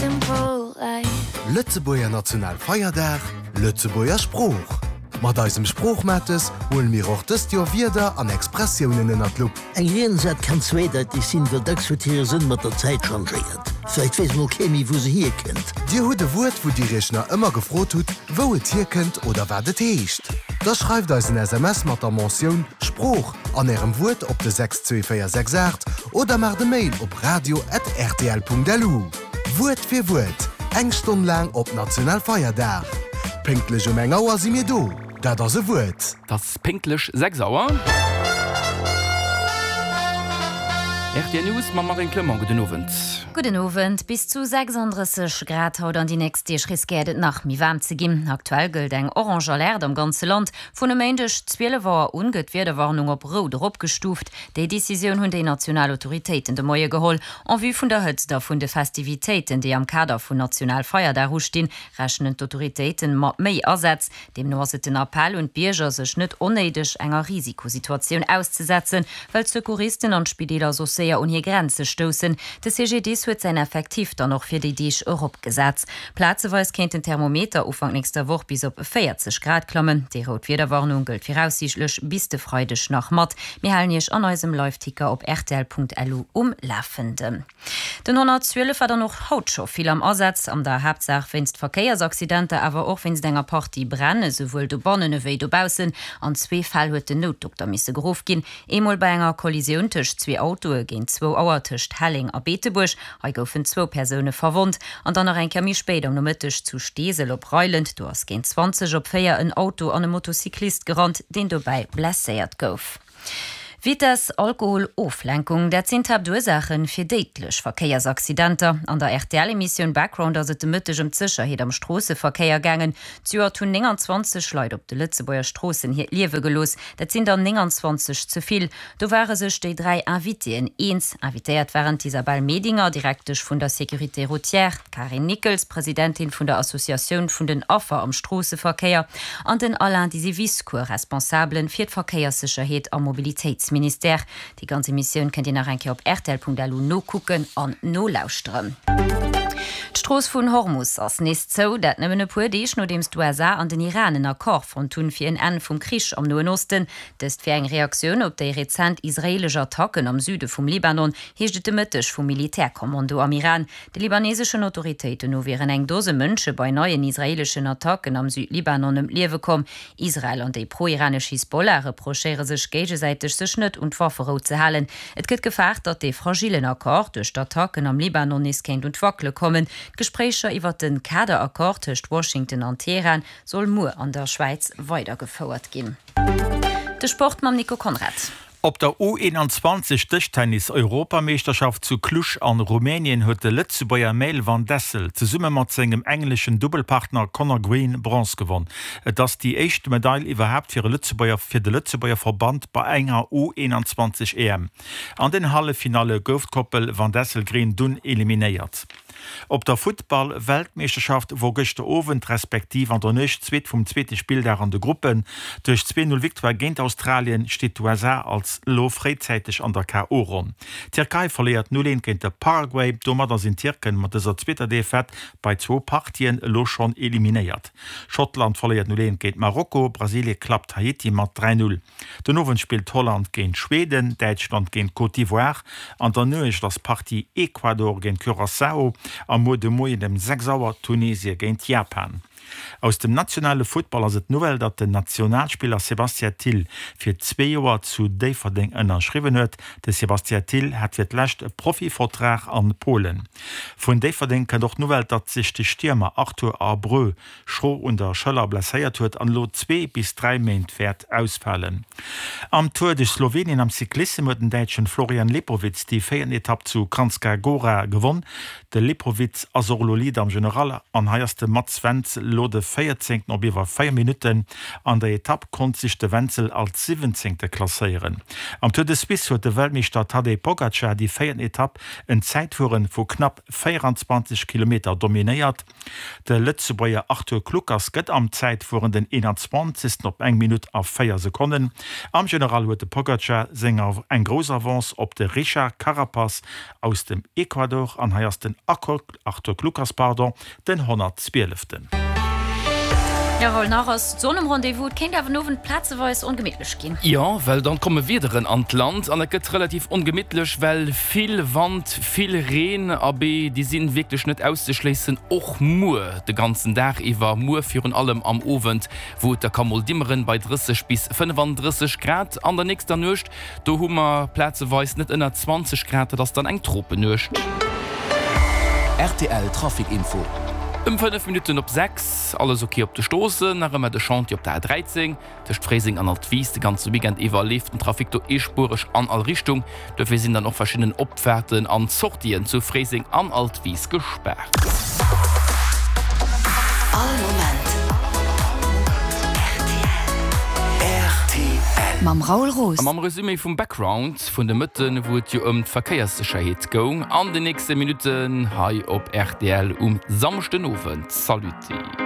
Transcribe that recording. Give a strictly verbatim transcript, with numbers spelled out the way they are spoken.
simple life. Lëtzebuerger Nationalfeierdag, Lëtzebuerger Sprooch. Mat eisem Sproochmates huele mir och dëst Joer Wierder an Expressiounen ënner d'Lupp. Eng Riensätt kann zweedeiteg sinn, well dacks huet hire Sënn mat der Zäit changéiert. Vläicht weess mol kee méi, wou se hierkënnt. Dir hutt e Wuert, wou Dir Iech nach ëmmer gefrot hutt, wou et hierkënnt oder wat et heescht? Da schreift eis en S M S mat der Mentioun Sprooch an Ärem Wuert op de sechs zwee véier sechs aacht oder maacht e Mail op radio at rtl punkt lu. Wuert fir Wuert, eng Stonn laang op Nationalfeierdag. Pénktlech um eng Auer si mir do. Dat ass e Wuert. Et ass pénktlech sechs Auer. R T L News mam Marine Clement. Gudden Owend. Gudden Owend. Bis zu sechsunddrësseg Grad haut an déi nächst Deeg riskéiert et nach méi waarm ze ginn. Aktuell gëllt eng orange Alerte am ganze Land. Vun e Méindeg zwielef Auer un gëtt d'Wiederwarnung op rout eropgestuuft. Déi Decisioun hunn déi national Autoritéiten de Moie geholl. En vue vun der Hëtzt a vun de Festivitéiten, déi am Kader vun Nationalfeierdag ustinn, rechnen d'Autoritéiten mat méi Asätz. Deemno ass et den Appell un d'Bierger, sech net onnéideg enger Risikosituatioun auszesetzen, well d'Secouristen an d'Spideeler soss séier un hir Grenze stoussen. De C G D S huet säin Effektiv dann och fir déi Deeg eropgesat. Plazeweis kéint den Thermometer Ufank nächster Woch bis op véierzeg Grad klammen. Déi rout Wiederwarnung gëllt viraussiichtlech bis de Freideg nach mat. Mir halen Iech an eisem Live-Ticker op R T L punkt L U um Lafenden. Den honnertzwielef war dann och haut scho vill am Asaz, an der Haaptsaach wéinst Verkéiersaccidenter, awer och wéinst enger Partie Bränne, souwuel dobannen ewéi dobaussen. An zwee Fäll huet den Noutdokter misse geruff ginn. Eemol bei enger Kollisioun tëscht zwee Autoe géint zwou Auer tëscht Helling a Beetebuerg. Hei goufen zwou Persoune verwonnt. An dann nach eng Kéier méi spéit am Nomëtteg zu Steesel op Reuland. Do ass géint zwanzeg op véier en Auto an e Motocyclist gerannt, deen dobäi blesséiert gouf. Vitesse, Alkohol, Oflenkung, dat sinn d'Haaptursachen fir déidlech Verkéiersaccidenter. An der R T L-Emissioun Background ass et de Mëtteg ëm d'Sécherheet am Stroosseverkéier gaangen. Zejoert hunn neunundzwanzeg Leit op de Lëtzebuerger Stroossen hiert Liewe gelooss. Dat sinn dann neunundzwanzeg ze vill. Do ware sech déi dräi Invitéen eens. Invitéiert waren d'Isabelle Medinger, Direktesch vun der Sécurité routière, d'Karin Nickels, Presidentin vun der Associatioun vun den Affer am Stroosseverkéier, an den Alain Disiviscour, Responsablen fir d'Verkéierssécherheet am Mobilitéitsministère. Déi ganze Missioun kënnt Dir nach eng Kéier op R T L punkt L U nokucken an nolauschteren. D'Strooss vun Hormus ass nees zou, dat nëmmen e puer Deeg nodeems d'U S A an den Iran en Accord fonnt hunn fir en Enn vum Krich am Noen Osten. Dëst fir eng Reaktioun op déi rezent israelesch Attacken am Süde vum Libanon, heescht et de Mëtteg vum Militärkommando am Iran. De libaneseschen Autoritéiten no wieren eng Dose Mënsche bei neien israeleschen Attacken am Südlibanon ëm d'Liewe komm. Israel an déi pro-iranesch Hisbollah reprochéiere sech géigesäiteg, sech net un d'Wafferou ze halen. Et gëtt gefaart, datt dee fragilen Accord duerch d'Attacken am Libanon nees kéint un d'Wackele kommen. D'Gespréicher iwwer den Kaderaccord tëscht Washington an Teheran soll muer an der Schwäiz weidergefouert ginn. De Sport mam Nico Konrad. Op der U einundzwanzig Dëschtennis-Europameeschterschaft zu Cluj an Rumänien huet de Lëtzebuerger Maël van Dessel zesumme mat sengem engleschen Doppelpartner Conor Green Bronze gewonnen. Et ass déi éischt Medail iwwerhaapt fir e Lëtzebuerger, fir de Lëtzebuerger Verband bei enger U einundzwanzig E M. An den Halleffinale gouf d'Koppel van Dessel-Green dunn eliminéiert. Op der Futtball-Weltmeeschterschaft wor gëschter Owend respektiv an der Nuecht zweet vum zweete Spilldag an de Gruppen. Duerch zwei null Victoire géint Australien steet d'U S A als lo fréizäiteg an der K O-Ronn. D'Tierkei verléiert null eent géint de Paraguay, domadder sinn d'Tierken mat dëser zweeter Defaite bei zwou Partien elo schonn eliminéiert. Schottland verléiert null eent géint Marokko, Brasilie klappt Haiti mat dräi null. Den Owend spillt Holland géint Schweden, Däitschland géint Côte d'Ivoire, an der Nuecht ass Partie Ecuador géint Curaçao, am Muer de Moien um sechs Auer Tunesie géint Japan. Aus dem nationale Football ass et Nouvelle, datt den Nationalspieler Sébastien Thill fir zwee Joer zu Déifferdeng ënnerschriwwen huet. De Sébastien Thill hat fir d'lescht e Profivertrag an Polen. Vun Déifferdeng kënnt och d'Nouvelle, datt sech de Stiermer Arthur Abreu schro un der Schëller blesséiert huet an elo zwee bis dräi Méint wäert ausfalen. Am Tour de Slowenien am Cyclissem huet den däitschen Florian Lipowitz déi véierten Etapp zu Kranjska Gora gewonn. De Lipowitz ass och elo Leader am General an hei ass de Mats Wenzel elo de véierzéngten op iwwer véier Minutten. An der Etapp konnt sech de Wenzel als siwwenzéngte klasséieren. Am Tour de Suisse huet de Weltmeeschter Tadej Pogacar déi véierten Etapp en Zäitfueren vu knapp vierundzwanzig Kilometer dominéiert. De Lëtzebuerger Arthur Kluckers gëtt am Zäitfueren den einundzwanzigsten op eng Minutt a véier Sekonnen. Am General huet de Pogacar senger eng grouss Avance op de Richard Carapaz aus dem Ecuador an hei ass den Arthur Kluckers pardon, den honnertzwieleften. Jo, Raoul, nach ass d'Sonn um Rendez-vous, et kéint awer den Owend plazeweis ongemittlech ginn. Jo, well dann komme Wiederen an d'Land an et gëtt relativ ongemittlech, well vill Wand, vill Reen, abee, déi sinn wierklech net auszeschléissen, och muer de ganzen Dag iwwer, muer virun allem am Owend, wou et da ka mol dimmeren bei drësseg bis fënnefandrësseg Grad. An der nächster Nuecht, do hu mer plazeweis net ënner zwanzeg Grad, dat ass dann eng Tropennuecht. Rtl Trafic Info. Ëm fënnef Minutten op sechs, alles ok op de Stroossen, nach ëmmer de Chantier op der A dräizéng tëscht Fréiseng an Altwis. De ganze Weekend iwwer leeft den Trafic do eespuereg an all Richtung. Dofir sinn dann och verschidden Opfaarten an Sortien zu Fréiseng an Altwis gespaart. All Moment rtl. Mam Raoul Roos. A mam Resumé vum Background vun de Mëtten, wou et jo ëm d'Verkéierssécherheet goung, an den nächste Minutten hei op rtl um Samschdenowend. Saluti.